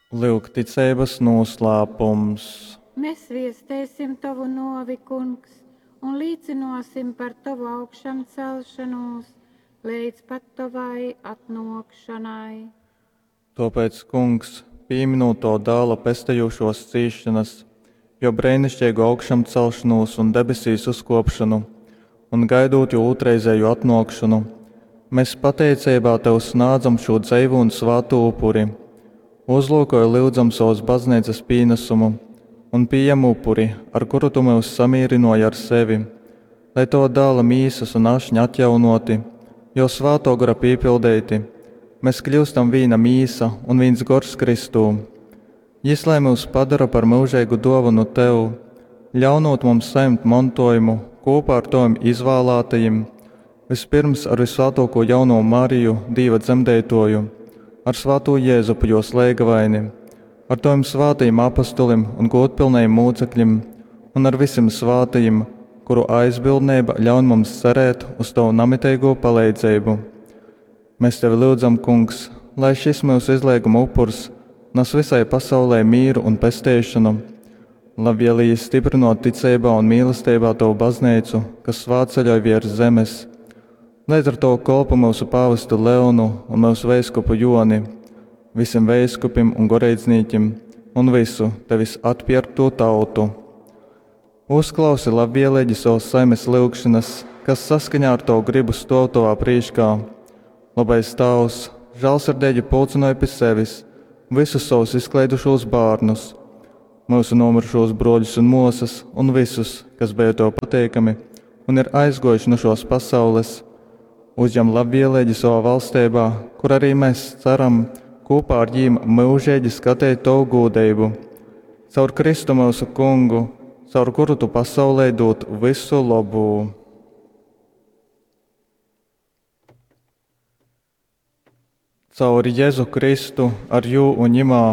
Lyuk ticeibas nūslāpums. Mēs viestēsim tovu nōvi, Kungs, un līcynōsim par tovu augšamcelšonūs leidz pat tovai atnōkšonai. Tōpēc, Kungs, pīminūt tova Dāla pestejūšōs cīsšonas, jō breiniškeigu augšamcelšonūs un debesīs uzkōpšonu, un gaidūt jō ūtrreizēju atnōkšonu, mēs pateiceibā tev snādzam šū dzeivū un svātū upuri. Uzlūkoj, lyudzam, sovas bazneicas pīnasumu un pījem upuri, ar kuru tu myus samīrynōji ar sevi, lai tova Dāla mīsas un ašņa atjaunōti, jo svātō gora pīpildeiti, mēs kļūstam vīna mīsa un vīns gors Kristū. Jys lai myus padara par myužeigu dōvanu tev, ļaunūt mums sajimt montojumu kūpā ar tovim izvālātajim, vispirms ar visvātōko jauno Mariju, Dīva dzemdeitoju, ar svātū Jēzupu jos leigavaini, ar tovim svātajim apostolim un gūdpilnajim mūcekļim un ar visim svātajim, kuru aizbildneiba ļaun mums cerēt uz tovu namiteigū paleidzeibu. Mēs tevi lyudzam, Kungs, lai šis myusu izleiguma upurs nes visai pasaulē mīru un pesteišonu, labvēlīgi stiprinot ticeibā un mīlestībā tavu baznīcu, kas svātceļoj virs zemes. Līdz ar to kolpu mūsu pāvestu Leonu un mūsu veiskupu Joni, visiem veiskupim un goreidznīkim un visu tevis atpierkto tautu. Uzklausi labvēlīgi savas saimes lyugšanas, kas saskaņā ar tavu gribu stāv tavā prīškā. Labais Tēvs, žēlsirdīgi pulcināja pie sevis visus savus izklaidušos bērnus, mūsu nomirušos broļus un māsas un visus, kas bija tev pateikami un ir aizgojuši no šos pasaules. Uzņem labvēlīgi savā valstībā, kur arī mēs ceram kopā ar viņiem mūžīgi skatīt tavu gūdību. Caur Kristu mūsu kungu, caur kuru tu pasaulē dod visu labu. Caur Jēzu Kristu, ar jū un ņimā,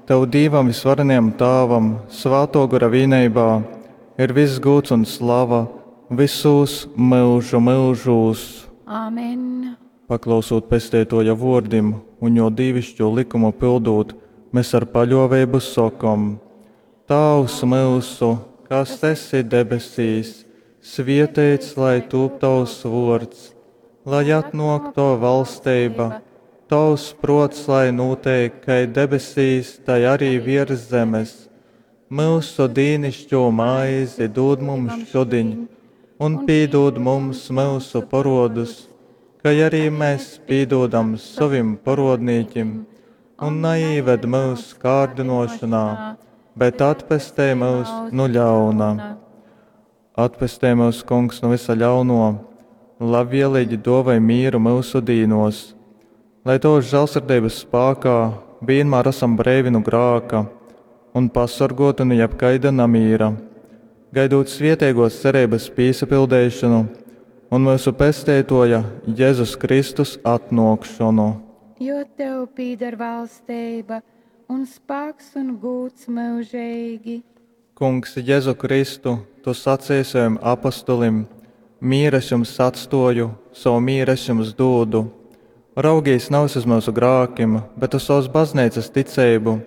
tev Dīvam visvarenajam Tāvam, svāto gara vīneibā, ir viss gūds un slava visos myužu myužūs. Amen. Paklausot pesteitoja vōrdim un jo dīvišķo likumu pildūt, mēs ar paļōveibu sokom: Tāvs myusu, kas esi debesīs, svieteits lai tūp tavs vōrds, lai atnōk tava valsteiba, tavs prots lai nūteik kai debesīs, tai arī virs zemes. Myusu dīnišķo maizi dod mums šodiņ, un pīdod mums myusu parodus, kai arī mēs pīdodam savim parodnīkim, un neīved mūsu kārdinošanā, bet atpestej mūs no ļauna. Atpestej mūs, Kungs, no visa ļauno, labvēlīgi dovai mīru mūsu dīnos, lai tavas žēlsirdības spēkā vienmēr esam breivi no grāka un pasargoti no jebkaida namīra, gaidot svietēgos cerības pīsapildēšanu un mūsu pesteitoja Jēzus Kristus atnākšanu. Jo tev pīdar valsteiba un spēks un gūds mūžīgi. Kungs, Jēzu Kristu, tu sacīji saviem apostolim: Mīru es jums atstoju, savu mīru es jums dodu. Raugīs nevis uz mūsu grākiem, bet uz savas baznīcas ticību,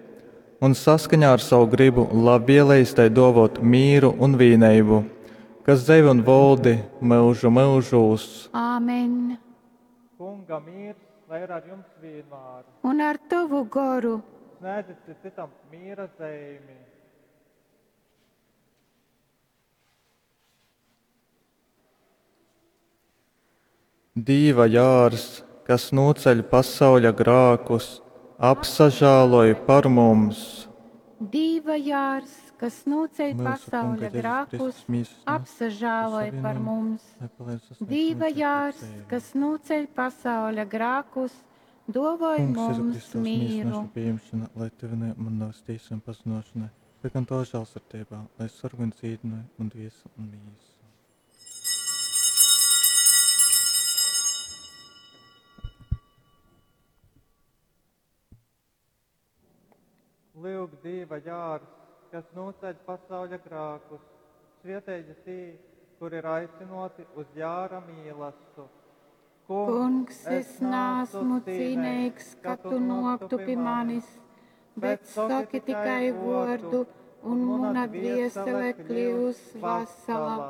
un saskaņā ar savu gribu labvēlējis tai dovot mīru un vīneibu, kas dzeivi un voldi mūžu mūžūs. Āmen. Kunga mīrs, lai ir ar jums vienmēr. Un ar tavu goru. Sniedzit citam mīra zīmi. Dīva jārs, kas noceļ pasauļa grākus, apsažāloj par mums. Dīva jārs, kas noceļ Mūsu pasauļa Kunga Jēzus grākus, Kristus mīsas un apsažāloj savienojam, par mums. lai palīdz sasniegt Dīva mūžīgo jārs, dzīvi. kas noceļ pasauļa grākus, dovoj Kungs, Jēzu mums Kristus, mīsas mīru. našu pieņemšana, lai tevi man navas tīsu un pazinošanai, bet gan to žēlsirdībā, lai sargu un dzīdināja un dviesu un mīsu. Lūk, Dieva jārs, kas noceļ pasauļa grākus, svietēji tī, kur ir aicinoti uz jāra mīlastu. Kungs, es neesmu cīnīgs, ka tu noktu pie manis, Bet soki tikai vōrdu, un muna dviesele kļyus vasala.